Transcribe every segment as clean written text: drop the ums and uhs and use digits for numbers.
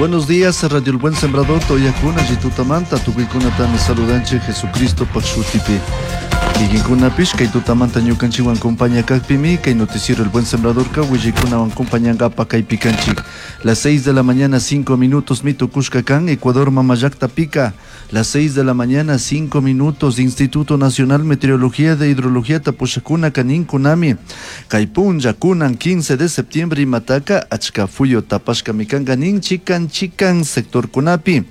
Buenos días, Radio El Buen Sembrador, Toyakuna, Jitutamanta, tukuykunatami saludanchik Jesucristo shutipi. Kikinkunapish kay tutamanta ñukanchikwan compañía kakpimi kay noticiero El Buen Sembrador ka willaykunawan compañangapa kaypi kanchik. Las 6 de la mañana 5 minutos mitukushka kan Ecuador mamallakta pika. Las 6 de la mañana 5 minutos Instituto Nacional Meteorología de Hidrología tapushakuna kaninkunami. Kay punlla kunan 15 de septiembre imataka achka fuyo tapashka mikanka nin chikan chikan sectorkunapi.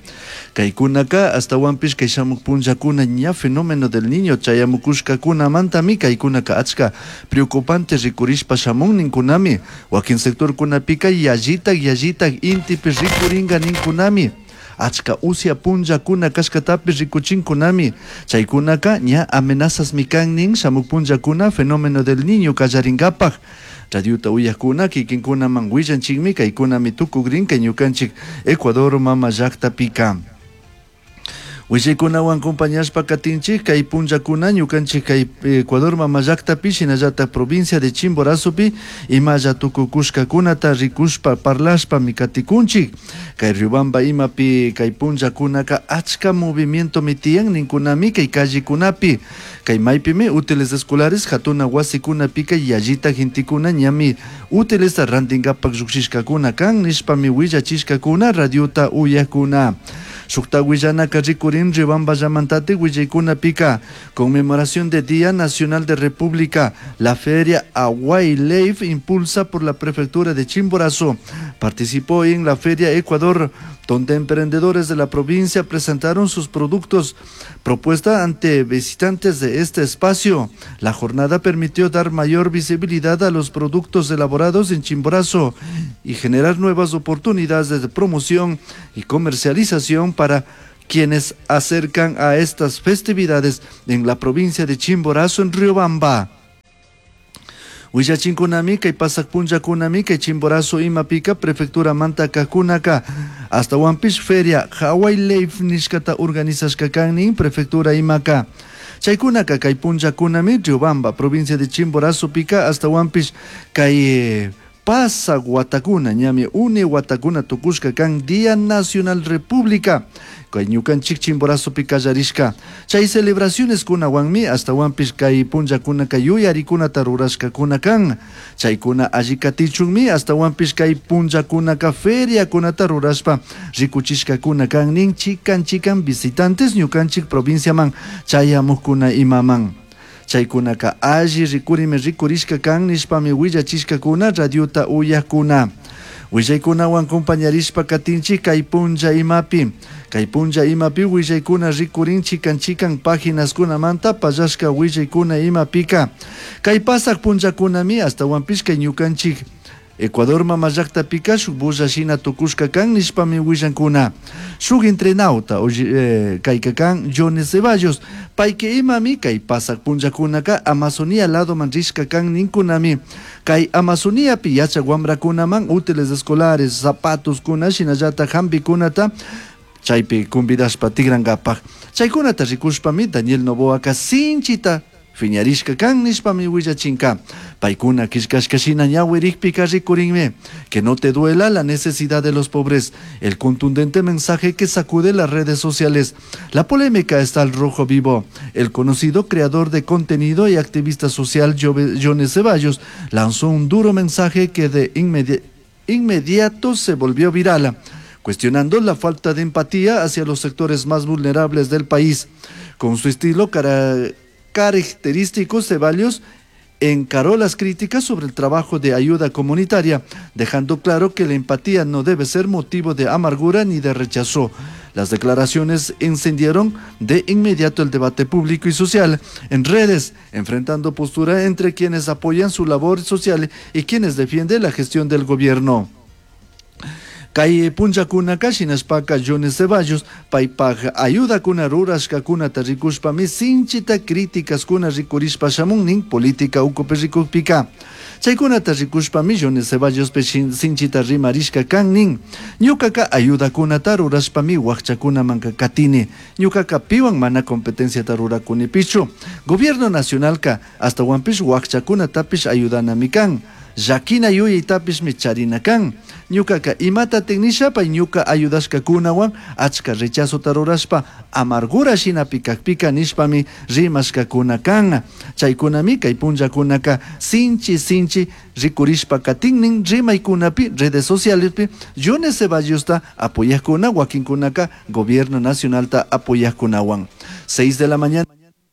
Kaykunaka astawanpish kay shamuk punllakuna ña fenómeno del niño chayamukushkakunamantami kaykunaka achka preocupante rikurishpa shamun ninkunami. Wakin sectorkunapika yallitak yallitak intipi rikurinka ninkunami. Achka usya punllakuna kashkatapish rikuchinkunami. Chaykunaka ña amenazas mikan nin shamuk punllakuna fenómeno del niño kallarinkapak. Radiota uyakuna kikinkunaman willanchikmi kaykunami tukukrin kay ñukanchik Ecuador mama llaktapika. Willaykunawan compañashpa katinchik kay punllakuna ñukanchik kay Ecuador mama llaktapi shinallatak provincia de Chimborazopi imalla tukukushkakunata rikushpa parlashpami katikunchik. Kay Riobamba imapi kay punllakunaka achka movimientomi tiyan ninkunami kay callekunapi. Kay maypimi útiles escolares hatuna wasikunapika yallita gentekuna ñami útiles rantinkapak llukshishkakuna kan nishpami willachishkakuna radiota uyakuna. Shukta willanaka rikurin Riobamba llamantatik willaykunapika conmemoración de Día Nacional de República, la feria Hawaii Leif impulsa por la prefectura de Chimborazo. Participó en la feria Ecuador, donde emprendedores de la provincia presentaron sus productos. Propuesta ante visitantes de este espacio. La jornada permitió dar mayor visibilidad a los productos elaborados en Chimborazo y generar nuevas oportunidades de promoción y comercialización para quienes acercan a estas festividades en la provincia de Chimborazo, en Riobamba. Willachinkunami kay pasak punllakunami kay Chimborazo imapika prefectura mantakakunaka astawanpish feria Hawaii Leif nishkata organizashka kan nin prefectura imaka. Chaykunaka kay punllakunami Riobamba provincia de Chimborazo pika astawanpish kay pasak watakuna ñami uni watakuna tukushka kan Día Nacional República kay ñukanchik Chimborazopi kallarishka. Chay celebraciones kunawanmi astawanpish kay punllakunaka yuyarikunata rurashkakuna kan. Chaykuna alli katichunmi astawanpish kay punllakunaka feriakunata rurashpa rikuchishkakuna kan nin chikan chikan visitantes ñukanchik provinciaman chayamukkuna imaman. Chaykunaka alli rikurimi rikurishka kan nishpami willachishkakuna radiota uyakuna. Willaykunawan compañarishpa katinchik kay punlla imapi. Kay punlla imapi willaykuna rikurin chikan chikan páginaskunamanta pallashka willaykuna imapika. Kay pasak punllakunami astawanpish kay ñukanchik Ecuador mama llaktapika shuk bulla shina tukushka kan nishpami willankuna. Shuk entrenauta kayka kan Johnny Ceballos payka imami kay pasak punllakunaka Amazonía ladoman rishka kan ninkunami. Kay Amazoniapi yachak wamrakunaman útiles escolares, zapatoskuna shinallatak hampikunata chaypi convidashpa tigrankapak. Chaykunata rikushpami Daniel Noboaka sinchita fiñarishka kan nishpami willachinka. Paykuna killkashka shina ñawirikpika rikurinmi. Que no te duela la necesidad de los pobres. El contundente mensaje que sacude las redes sociales. La polémica está al rojo vivo. El conocido creador de contenido y activista social Johnny Ceballos lanzó un duro mensaje que de inmediato se volvió viral, cuestionando la falta de empatía hacia los sectores más vulnerables del país. Con su estilo característico, Ceballos encaró las críticas sobre el trabajo de ayuda comunitaria, dejando claro que la empatía no debe ser motivo de amargura ni de rechazo. Las declaraciones encendieron de inmediato el debate público y social en redes, enfrentando postura entre quienes apoyan su labor social y quienes defienden la gestión del gobierno. Kay punllakunaka shinashpaka Johnny Ceballos paypaj ayudakuna rurashkakunata rikushpami sinchita críticaskuna rikurishpa shamun nin política ukupi rikukpika. Chaykunata rikushpami Johnny Ceballos sinchita rimarishka kan nin. Ñukaka ayudakunata rurashpami wakchakunamanka katini. Ñukaka piwan mana competenciata rurakunipichu. Gobierno nacionalka astawanpish wakchakunatapish ayudanami kan. Llaquina yuyaitapishmi charina can. Ñucaca imatataj nisha pai ñuca ayudashcacunahuan achca rechazota rurashpa amargura shinapi cajpica nishpami rimashcacuna can. Chaicunami cai punllacunaca sinchi sinchi ricurishpa catinnin rimaicunapi redes socialespi Jones Ceballosta apoyajcuna huaquincunaca Gobierno Nacionalta apoyajcunahuan. 6 de la mañana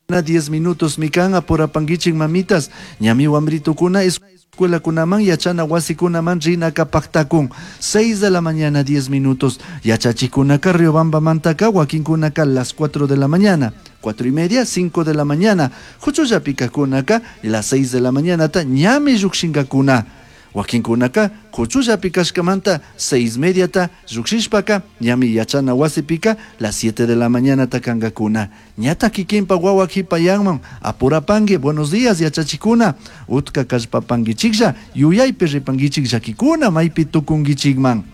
10 minutos mikan apurapanguichik mamitas ñami wambritukuna escuelakunaman yachana wasikunaman rinaka pactakun. 6 de la mañana 10 minutos yachachikunaka Riobambamantaka wakinkunaka las 4 de la mañana 4 y media 5 de la mañana huchullapikakunaka las 6 de la mañanata ñami llukshinkakuna. Wakinkunaka huchullapi kashkamanta 6 mediata llukshishpaka ñami yachana wasipika las 7 de la mañanata kankakuna. Ñata kikinpa wawa kipayanman apurapanki buenos días yachachikuna utka kallpapankichiklla yuyaypi ripankichik llakikuna maypi tukunkichikman.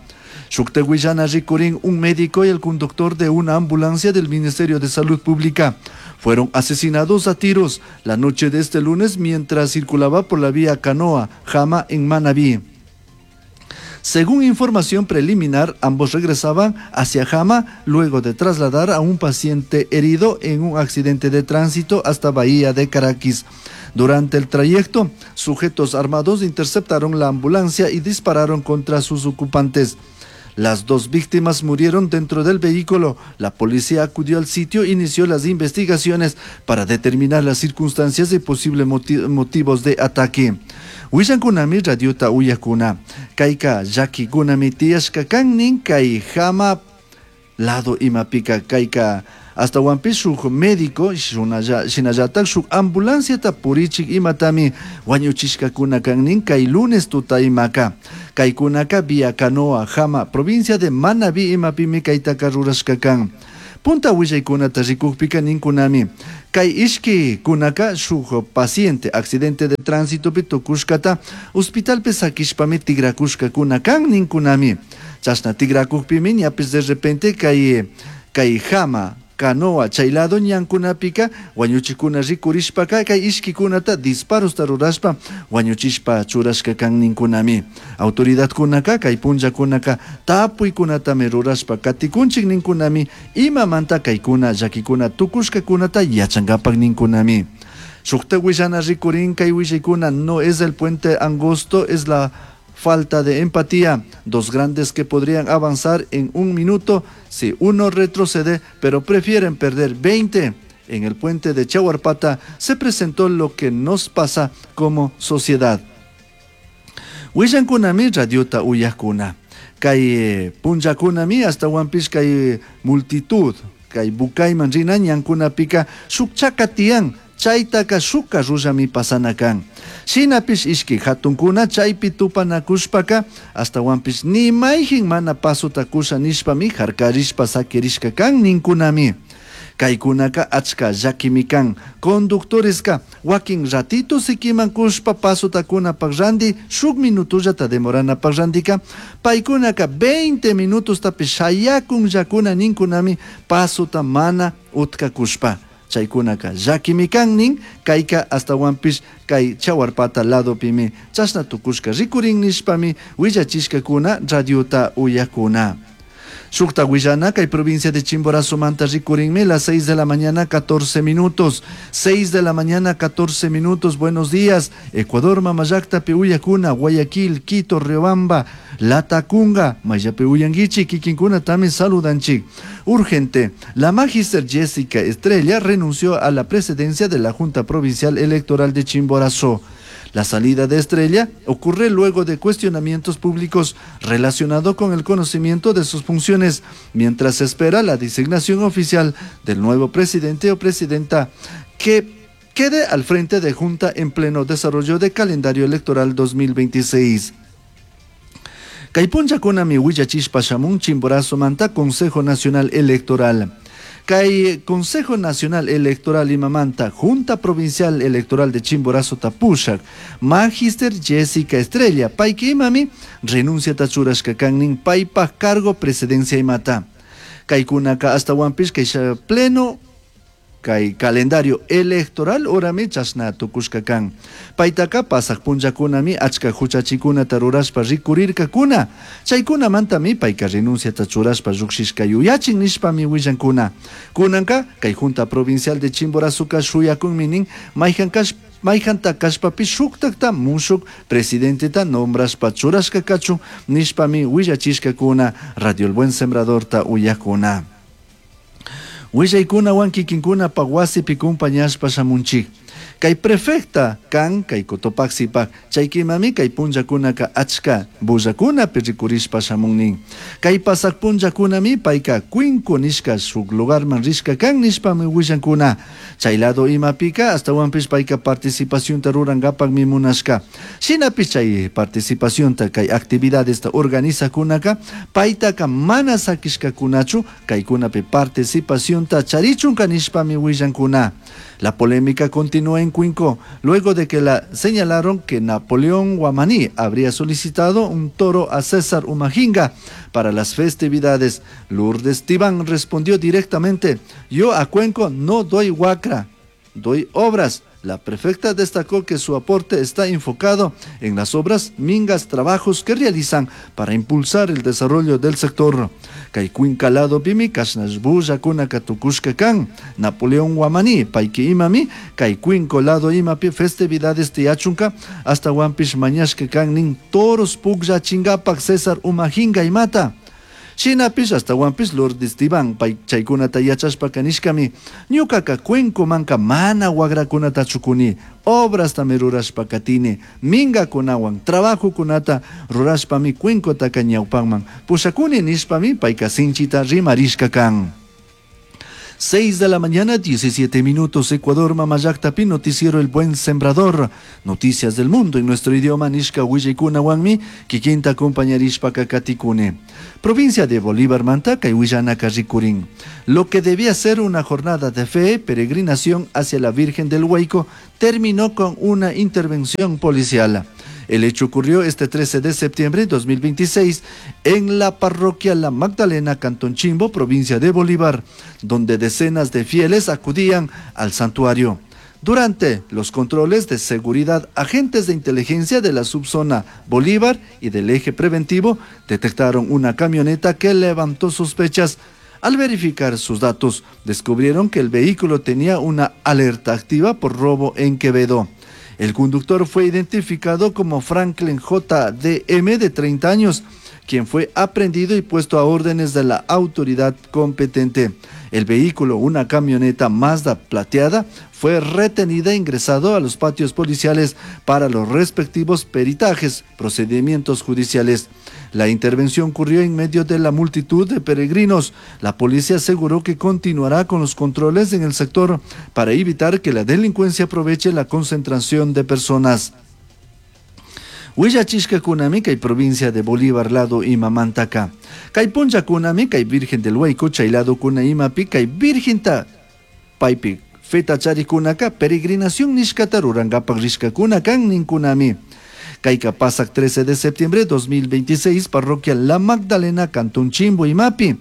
Shukta willana rikurin un médico y el conductor de una ambulancia del Ministerio de Salud Pública fueron asesinados a tiros la noche de este lunes mientras circulaba por la vía Canoa, Jama en Manabí. Según información preliminar, ambos regresaban hacia Jama luego de trasladar a un paciente herido en un accidente de tránsito hasta Bahía de Caracas. Durante el trayecto, sujetos armados interceptaron la ambulancia y dispararon contra sus ocupantes. Las dos víctimas murieron dentro del vehículo. La policía acudió al sitio e inició las investigaciones para determinar las circunstancias y posibles motivos de ataque. Willankunami radiota uyakuna. Kayka llakikunami tiyashka kan kay Jama lado imapika kayka astawanpish shuk médico shinallatak shuk ambulanciata purichik imatami wañuchishkakuna kan kay lunes tuta imaka. Kaykunaka vía Canoa, Jama, provincia de Manabí imapimi kaytaka rurashka kan. Punta willaykunata rikukpika ninkunami. Kay ishki kunaka shuk paciente accidente de tránsito tukushkata hospitalpi sakishpami tigrakushkakuna kan ninkunami. Chashna tigrakukpimi ñapis de repente kay kay Jama Canoa chay lado ñankunapika wañuchikuna rikurishpaka kay ishkikunata disparosta rurashpa wañuchishpa churashka kan ninkunami. Autoridadkunaka kay punllakunaka tapuykunatami rurashpa katikunchik ninkunami imamanta kaykuna llakikuna tukushkakunata yachankapak ninkunami. Shukta willana rikurin kay willaykuna no es el puente angosto, es la falta de empatía. Dos grandes que podrían avanzar en un minuto si uno retrocede, pero prefieren perder 20. En el puente de Chahuarpata se presentó lo que nos pasa como sociedad. Willankunami radiota uyakuna. Kay punllakunami hasta kay multitud. Kay bukayman rina ñankunapika shuk chaka tiyan chaytaka shuk carrullami pasana kan. Shinapish ishki hatunkuna chaypi tupanakushpaka astawanpish ni mayjin mana pasota kusha nishpami harkarishpa sakirishka kan ninkunami. Kaykunaka achka llakimi kan. Conductoreska wakin ratito sikiman kushpa pasota kunapak ranti shuk minutollata demoranapak rantika paykunaka 20 minutostapish shayakunllakuna ninkunami pasota mana utkakushpa. Chaykunaka llakimi kan nin kayka astawanpish kay Chahuarpata ladopimi chashna tukushka rikurin nishpami willachishkakuna radiota uyakuna. Shukta willana kay provincia de Chimborazo manta rikurinmi las 6 de la mañana 14 minutos. 6 de la mañana 14 minutos. Buenos días. Ecuador, Mamallacta, Uyakuna, Guayaquil, Quito, Riobamba, Latacunga, Mayape Uyanguichi, Kikinkuna también saludanchik. Urgente. La magíster Jessica Estrella renunció a la presidencia de la Junta Provincial Electoral de Chimborazo. La salida de Estrella ocurre luego de cuestionamientos públicos relacionados con el conocimiento de sus funciones, mientras se espera la designación oficial del nuevo presidente o presidenta que quede al frente de Junta en pleno desarrollo de calendario electoral 2026. Kay punllakunami willachishpa shamun Chimborazo manta Consejo Nacional Electoral. Kay Consejo Nacional Electoral imamanta Junta Provincial Electoral de Chimborazo tapushak, Magister Jessica Estrella, payki imami renuncia churashka kannin paypaj cargo presidencia imata. Kaykunaka astawanpish kay pleno Kay calendario electoral urami chashna tukushka kan. Paytaka pasaq punllakunami achka huchachikunata rurashpa rikurirkakuna. Chaykunamantami payka renunciata churashpa llukshishka yuyachin nishpami willankuna. Kunanka kay Junta Provincial de Chimborazoka shuyakunmi nin mayhan mayhanta kashpapish shuktakta mushuk presidenteta nombrashpa churashka kachun nishpami willachishkakuna Radio El Buen Sembradorta uyakuna. Willaykunawan kikinkunapaq wasipi kumpañashpa shamunchik. Kay prefecta kan kay Cotopaxipak chaykimami kay punllakunaka achka bullakunapi rikurishpa shamun nin. Kay pasaq punllakunami payka Cuenco nishka shuk lugarman rishka kan nishpami willankuna. Chay lado imapika astawanpish payka participacionta rurankapakmi munashka. Shinapish chay participacionta kay actividadesta organizakunaka paytaka mana sakishkakunachu kaykunapi participacionta charichunka nishpami willankuna. La polémica continúa en Cuenco, luego de que la señalaron que Napoleón Guamaní habría solicitado un toro a César Umajinga para las festividades. Lourdes Tibán respondió directamente: yo a Cuenco no doy huacra, doy obras. La prefecta destacó que su aporte está enfocado en las obras, mingas, trabajos que realizan para impulsar el desarrollo del sector. Kay Cuenca ladopimi kashnash bullakuna tukushka kan. Napoleón Guamaní, payki imami, kay Cuenco lado imapi festividades tiyachunka, astawanpish mañashka kan nin toros pukllachingapak César Umajinga imata. Shinapish astawanpish Lourdes Tibán pay chaykunata yachashpaka nishkami ñukaka Cuencomanka mana wagrakunata chukuni, obrastami rurashpa katini, mingakunawan trabajokunata rurashpami Cuencotaka ñawpanman pushakuni nishpami payka sinchita rimarishka kan. 6 de la mañana, 17 minutos, Ecuador, Mamallaktapi, noticiero El Buen Sembrador. Noticias del mundo en nuestro idioma, nishka willaykunawanmi, kikinta acompañarishpaka katikune. Provincia de Bolívar, manta, kay willanaka rikurin. Lo que debía ser una jornada de fe, peregrinación hacia la Virgen del Huayco, terminó con una intervención policial. El hecho ocurrió este 13 de septiembre de 2026 en la parroquia La Magdalena, Cantón Chimbo, provincia de Bolívar, donde decenas de fieles acudían al santuario. Durante los controles de seguridad, agentes de inteligencia de la subzona Bolívar y del eje preventivo detectaron una camioneta que levantó sospechas. Al verificar sus datos, descubrieron que el vehículo tenía una alerta activa por robo en Quevedo. El conductor fue identificado como Franklin JDM, de 30 años, quien fue aprehendido y puesto a órdenes de la autoridad competente. El vehículo, una camioneta Mazda plateada, fue retenida e ingresado a los patios policiales para los respectivos peritajes, procedimientos judiciales. La intervención ocurrió en medio de la multitud de peregrinos. La policía aseguró que continuará con los controles en el sector para evitar que la delincuencia aproveche la concentración de personas. Willachishkakunami kay provincia de Bolívar lado imamantaka. Kay punllakunami kay Virgen del Huayco chay lado kuna imapi kay Virginta paypi feta charikunaka peregrinación nishkata rurankapak rishkakuna kan ninkunami. Kayka pasak 13 de septiembre de 2026, parroquia La Magdalena, Cantón Chimbo imapi.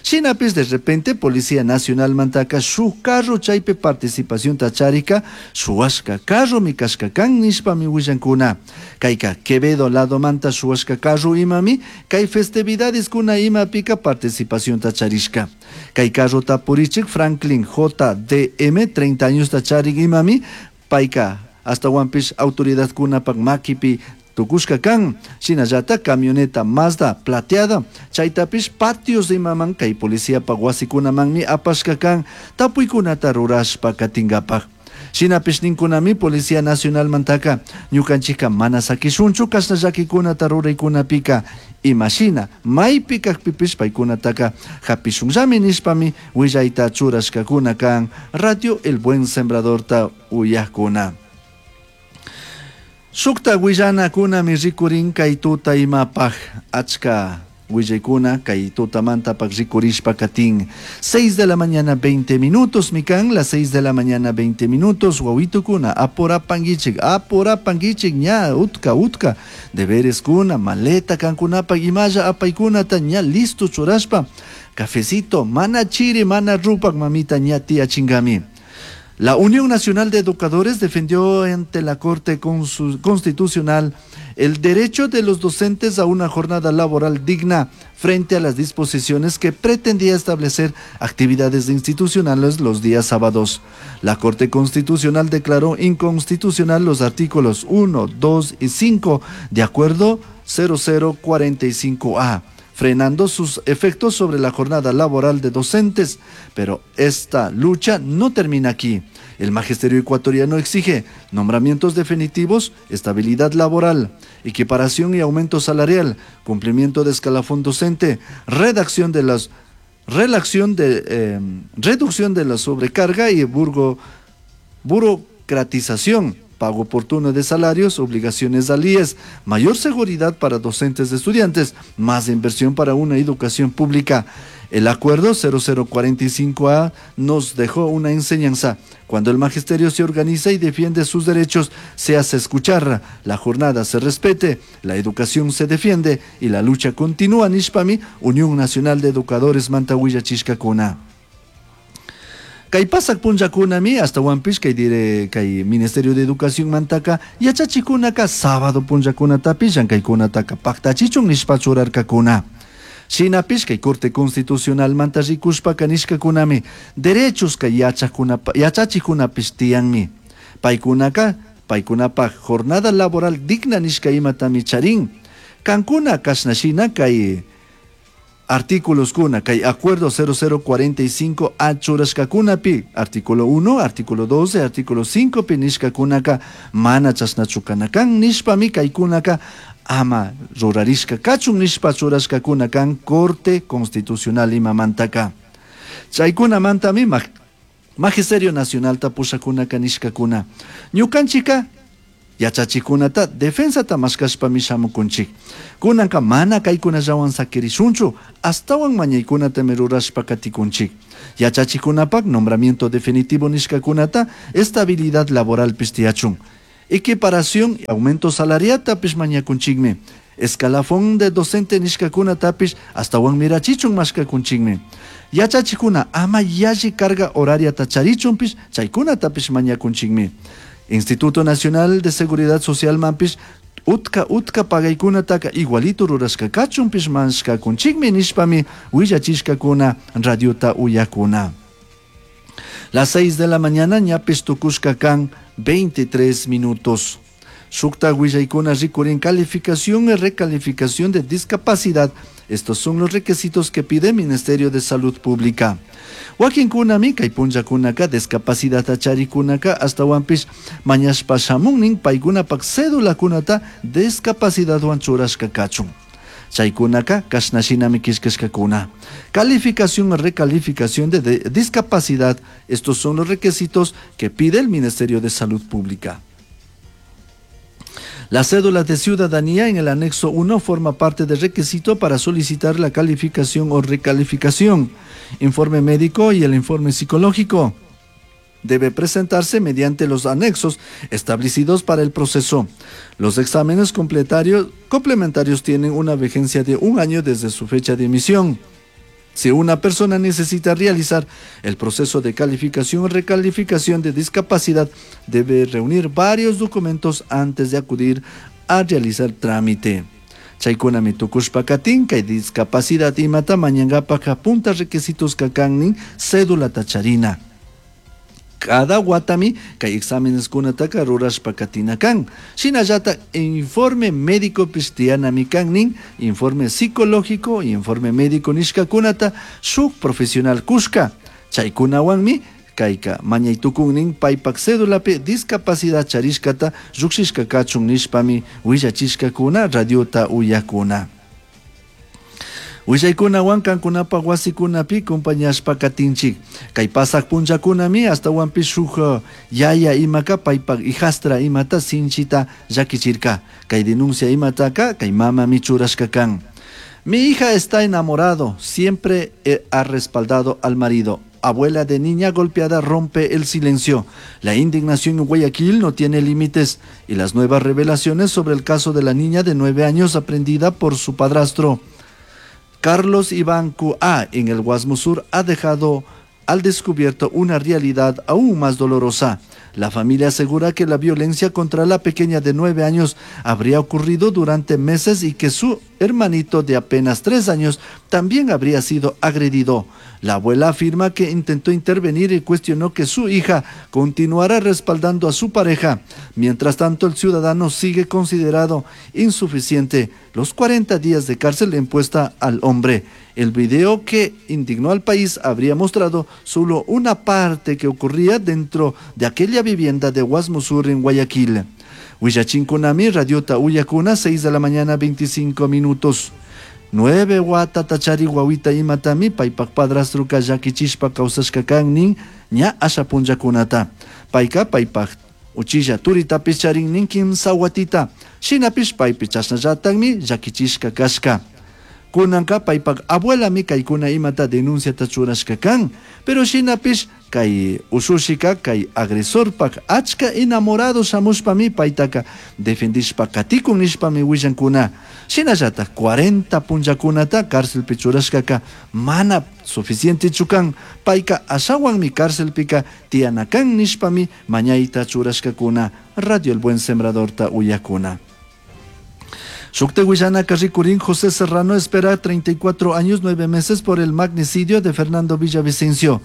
Shinapis de repente Policía Nacional mantaka shuk carro chaypi participación tacharika shuwashka carro mikashka kan nishpami willankuna. Kayka Quevedo lado manta shuwashka carro imami kay festividades kuna imapika participación tacharishka. Kay carro tapurichik Franklin JDM 30 años tacharik imami payka astawanpish autoridad kunapak makipi tukushka kan. Shinallata camioneta Mazda plateada chaytapish patios imaman kay policiapak wasikunamanmi apashka kan tapuykunata rurashpa katinkapak. Shinapish ninkunami Policía Nacional mantaka ñukanchikka mana sakishunchu kashna llakikunata ruraykunapika imashina maypi kakpipish paykunataka hapishunllami nishpami willayta churashkakuna kan. Radio El Buen Sembradorta uyakuna. Shukta willanakunami rikurin kay tuta imapaj achka willaykuna kay tutamantapak rikurishpa katin. 6 de la mañana 20 minutos mikan, las 6 de la mañana 20 minutos wawitukuna apurapanguichik, apurapanguichik ña utka utka deberes kuna maleta kankunapak imalla apaykunata ña listo churashpa cafecito mana chiri mana rupak mamita ña tiyachingami. La Unión Nacional de Educadores defendió ante la Corte Constitucional el derecho de los docentes a una jornada laboral digna frente a las disposiciones que pretendía establecer actividades institucionales los días sábados. La Corte Constitucional declaró inconstitucional los artículos 1, 2 y 5 de acuerdo 0045A, frenando sus efectos sobre la jornada laboral de docentes. Pero esta lucha no termina aquí. El magisterio ecuatoriano exige nombramientos definitivos, estabilidad laboral, equiparación y aumento salarial, cumplimiento de escalafón docente, redacción de las relación de reducción de la sobrecarga y burocratización, pago oportuno de salarios, obligaciones al IES, mayor seguridad para docentes y estudiantes, más inversión para una educación pública. El acuerdo 0045A nos dejó una enseñanza. Cuando el magisterio se organiza y defiende sus derechos, se hace escuchar, la jornada se respete, la educación se defiende y la lucha continúa. Nishpami, Unión Nacional de Educadores manta willachishcacuna. Kay pasak punllakunami ashtawanpish kay dire kay Ministerio de Educación mantaka yachachikunaka sábado punllakunatapish llankaykunataka paktachichun nishpa churarkakuna. Shinapish kay Corte Constitucional manta rikushpaka nishkakunami derechos kay yachachikunapish tiyanmi. Paykunaka paykunapak jornada laboral digna nishka imatami charin. Kankuna kashna shina kay artículos kuna kay acuerdo 0045 A churashkakunapi artículo 1, artículo 12, artículo 5 pi nishkakunaka mana chashnachu kana kan nishpami kaykunaka ama rurarishka kachun nishpa churashkakuna kan Corte Constitucional imamantaka. Chaykunamantami Magisterio Nacionalta pushakunaka nishkakuna. Ñukanchika yachachikunata defensata mashkashpami shamukunchik. Kunanka mana kaykunallawan sakirishunchu, astawan mañaykunatami rurashpa katikunchik. Yachachikunapak nombramiento definitivo nishkakunata estabilidad laboral tiyachun. Equiparación y aumento salariatapish mañakunchikmi. Escalafón de docente nishkakunatapish astawan mirachichun mashkakunchikmi. Yachachikuna ama yalli carga horariata charichunpish chaykunatapish mañakunchikmi. Instituto Nacional de Seguridad Social manpish utka utka pagaykunataka igualito rurashka kachunpish mashkakunchikmi nishpami willachishkakuna radiota uyakuna. Las 6 de la mañana ñapish tukushka kan 23 minutos. Shukta willaykuna rikurin calificación y recalificación de discapacidad. Estos son los requisitos que pide el Ministerio de Salud Pública. Wakinkunami kay punllakunaka discapacidad charikunaka ashtawanpish mañashpa shamunnin paykunapak cédulakunata discapacidadwan churashka kachun. Chaykunaka kashna shinami killkashkakuna. Calificación y recalificación de discapacidad. Estos son los requisitos que pide el Ministerio de Salud Pública. La cédula de ciudadanía en el anexo 1 forma parte del requisito para solicitar la calificación o recalificación. Informe médico y el informe psicológico debe presentarse mediante los anexos establecidos para el proceso. Los exámenes complementarios tienen una vigencia de 1 año desde su fecha de emisión. Si una persona necesita realizar el proceso de calificación o recalificación de discapacidad, debe reunir varios documentos antes de acudir a realizar trámite. Chaykunami tukushpa katin kay discapacidad imata mañankapak punta requisitos kakannin cédula tacharina. Cada watami kay exámenes kunataka rurashpa katina kan. Shinallata informe médico pistianami kannin, informe psicológico, informe médico nishkakunata shuk profesional kushka. Chaykunawanmi kayka mañaytukunnin paypak cédulapi discapacidad charishkata llukshishka kachun nishpami willachishkakuna radiota uyakuna. Willaykunawan kankunapak wasikunapi compañashpa katinchik. Kay pasak punllakunami ashtawanpish shuk yaya imaka paypak hijastra imata sinchita llakichirka. Kay denuncia imataka kay mamami churashka kan. Mi hija está enamorado, siempre ha respaldado al marido. Abuela de niña golpeada rompe el silencio. La indignación en Guayaquil no tiene límites y las nuevas revelaciones sobre el caso de la niña de 9 años aprendida por su padrastro Carlos Iván Q.A. en el Guasmo Sur ha dejado al descubierto una realidad aún más dolorosa. La familia asegura que la violencia contra la pequeña de 9 años habría ocurrido durante meses y que su hermanito de apenas 3 años también habría sido agredido. La abuela afirma que intentó intervenir y cuestionó que su hija continuara respaldando a su pareja. Mientras tanto, el ciudadano sigue considerado insuficiente los 40 días de cárcel impuesta al hombre. El video que indignó al país habría mostrado solo una parte que ocurría dentro de aquella vivienda de Guasmusur en Guayaquil. Huillachinkunami, Radiota Uyacuna, 6 de la mañana, 25 minutos. 9 watata chari wawita imatami paypak padrastruka llakichishpa kawsashka kan nin ña asha punllakunata. Payka paypak uchilla turitapish charin nin kimsa watita. Shinapish paypi chashnallatakmi llakichishka kashka. Kunanka paypak abuelami kaykuna imata denunciata churashka kan. Pero shinapish kay ushushika kay agresorpak achka enamorado shamushpami paytaka defendishpa katikun nishpami willankuna. Shinallatak 40 punllakunata cárcelpi churashkaka mana suficientechu kan. Payka ashawanmi cárcelpika tiyana kan nishpami mañayta churashkakuna. Radio El Buen Sembradorta uyakuna. Shukte Huillana Ricurín, José Serrano espera 34 años 9 meses por el magnicidio de Fernando Villavicencio.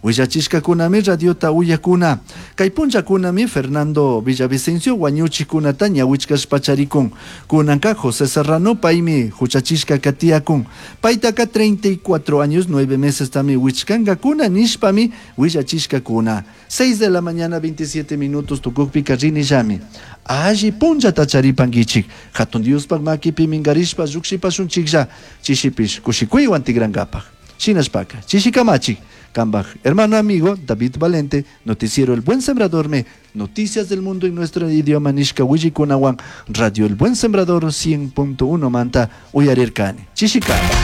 Huillachishka kunami radiota uyakuna. Kay punlla kunami Fernando Villavicencio wañuchi kunata ñawichkashpa charikun. Kunanka José Serrano paymi huchachishka katiyakun. Paytaka 34 años 9 meses tami wichkanka kuna nishpami huillachishka kuna. 6 de la mañana 27 minutos tukukpika rinillami. Alli punllata charipankichik. Hatun Diospaj makipi minkarishpa llukshipashunchiklla chishipish kushikuywan tikrankapaj. Shinashpaka, chishikamachik. Kambaj, hermano amigo David Valente, noticiero El Buen Sembrador me, noticias del mundo en nuestro idioma nishka willikunawan, Radio El Buen Sembrador 100.1 manta uyarirkani. Chishikama.